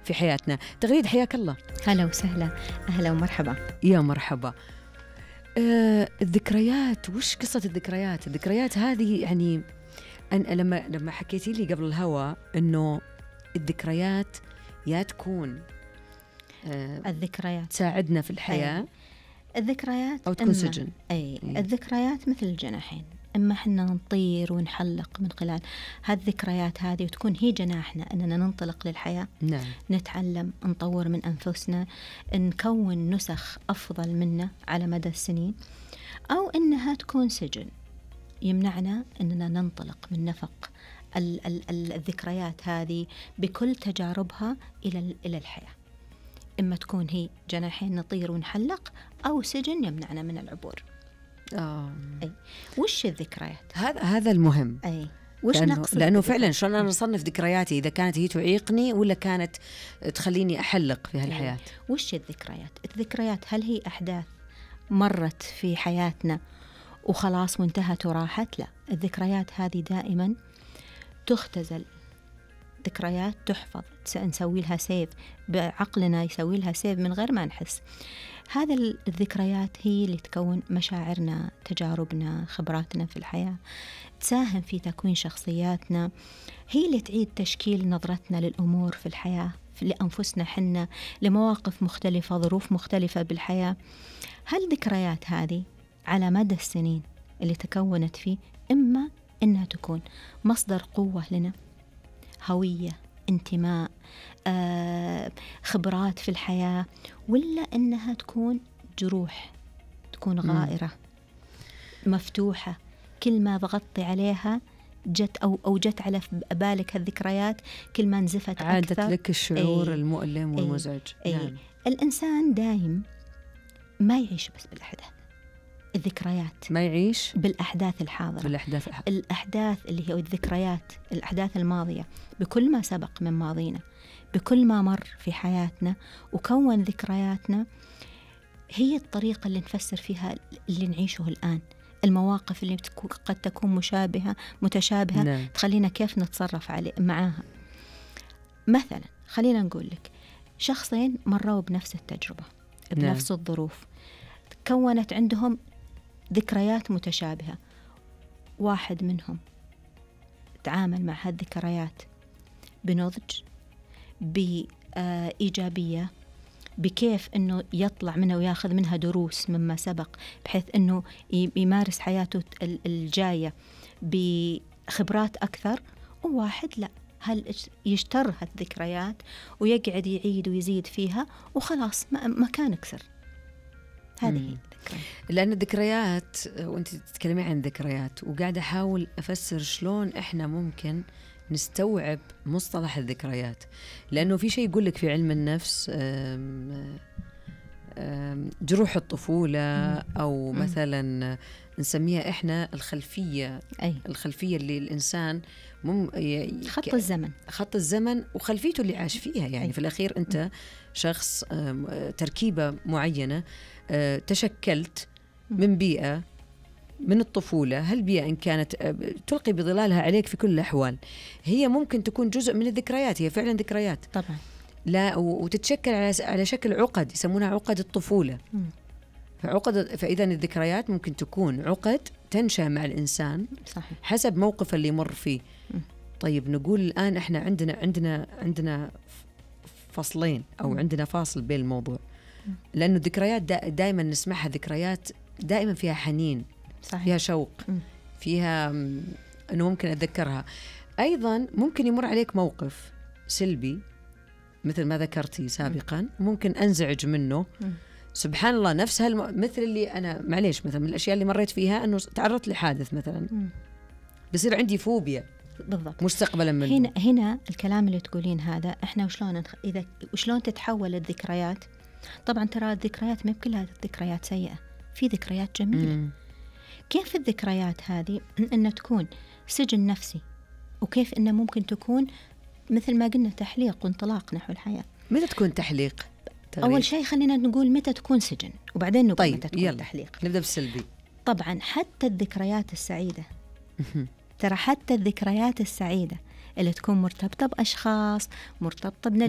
في حياتنا. تغريد حياك الله. هلا وسهلا، أهلا ومرحبا. يا مرحبا. الذكريات، وش قصة الذكريات؟ الذكريات هذه يعني أنا لما حكيتي لي قبل الهوا إنه الذكريات يا تكون الذكريات تساعدنا في الحياة، الذكريات أو تكون سجن. الذكريات مثل الجناحين، إما حنا نطير ونحلق من خلال هالذكريات هذه وتكون هي جناحنا أننا ننطلق للحياة. نعم. نتعلم، نطور من أنفسنا، نكون نسخ أفضل منا على مدى السنين، أو إنها تكون سجن يمنعنا أننا ننطلق من نفق الذكريات هذه بكل تجاربها إلى الحياة. إما تكون هي جناحين نطير ونحلق، أو سجن يمنعنا من العبور. أي. وش الذكريات؟ هذا المهم. أي. وش لأنه فعلا شلون أنا أصنف ذكرياتي، إذا كانت هي تعيقني ولا كانت تخليني أحلق في هالحياة. وش الذكريات؟ الذكريات هل هي أحداث مرت في حياتنا وخلاص وانتهت وراحت؟ لا، الذكريات هذه دائما تختزل، ذكريات تحفظ، نسوي لها سيف بعقلنا، يسوي لها سيف من غير ما نحس. هذا الذكريات هي اللي تكون مشاعرنا، تجاربنا، خبراتنا في الحياة، تساهم في تكوين شخصياتنا، هي اللي تعيد تشكيل نظرتنا للأمور في الحياة، لأنفسنا حنا، لمواقف مختلفة، ظروف مختلفة بالحياة. هالذكريات هذه على مدى السنين اللي تكونت فيه، إما إنها تكون مصدر قوة لنا، هوية، انتماء، خبرات في الحياة، ولا إنها تكون جروح، تكون غائرة مفتوحة، كل ما ضغطي عليها جت أو جت على بالك هالذكريات، كل ما نزفت عادت أكثر. لك الشعور المؤلم والمزعج. نعم. الإنسان دايم ما يعيش بس بالأحداث، الذكريات ما يعيش بالأحداث الحاضرة، الأحداث اللي هي الذكريات، الأحداث الماضية، بكل ما سبق من ماضينا، بكل ما مر في حياتنا وكون ذكرياتنا، هي الطريقة اللي نفسر فيها اللي نعيشه الآن. المواقف اللي قد تكون متشابهة نعم. تخلينا كيف نتصرف معاها. مثلا خلينا نقول لك شخصين مروا بنفس التجربة، بنفس نعم. الظروف، كونت عندهم ذكريات متشابهة. واحد منهم تعامل مع هالذكريات بنضج، بإيجابية، بكيف أنه يطلع منها وياخذ منها دروس مما سبق، بحيث أنه يمارس حياته الجاية بخبرات أكثر. وواحد لا، هل يشتر هالذكريات ويقعد يعيد ويزيد فيها وخلاص ما كان كسر. هذه هي الذكريات. لأن الذكريات، وأنت تتكلمي عن ذكريات وقاعدة أحاول أفسر شلون إحنا ممكن نستوعب مصطلح الذكريات، لأنه في شيء يقول لك في علم النفس جروح الطفولة، أو مثلا نسميها إحنا الخلفية. الخلفية اللي الإنسان خط الزمن وخلفيته اللي عاش فيها. يعني في الأخير أنت شخص تركيبة معينة، تشكلت من بيئة من الطفولة. هالبيئة إن كانت تلقي بظلالها عليك في كل الأحوال، هي ممكن تكون جزء من الذكريات، هي فعلا ذكريات طبعا، لا وتتشكل على شكل عقد يسمونها عقد الطفولة. فإذا الذكريات ممكن تكون عقد تنشأ مع الإنسان. صحيح. حسب موقف اللي مر فيه. طيب نقول الآن إحنا عندنا فصلين، أو عندنا فاصل بين الموضوع، لأنه الذكريات دائما نسمعها ذكريات دائما فيها حنين. صحيح. فيها شوق، فيها أنه ممكن أتذكرها. أيضا ممكن يمر عليك موقف سلبي مثل ما ذكرتي سابقا، ممكن أنزعج منه. سبحان الله، نفس مثل اللي أنا معليش مثلا من الأشياء اللي مريت فيها أنه تعرضت لحادث مثلا، بصير عندي فوبيا بالضبط مستقبلا منه. هنا الكلام اللي تقولين هذا، إحنا وشلون تتحول الذكريات. طبعا ترى الذكريات ما كلها ذكريات سيئة، في ذكريات جميلة. كيف الذكريات هذه أن تكون سجن نفسي، وكيف أنه ممكن تكون مثل ما قلنا تحليق وانطلاق نحو الحياة. متى تكون تحليق؟ أول شيء خلينا نقول متى تكون سجن، وبعدين نقول طيب متى تكون تحليق. نبدأ بالسلبي. طبعا حتى الذكريات السعيدة، ترى حتى الذكريات السعيدة اللي تكون مرتبطة بأشخاص، مرتبطة بنجاح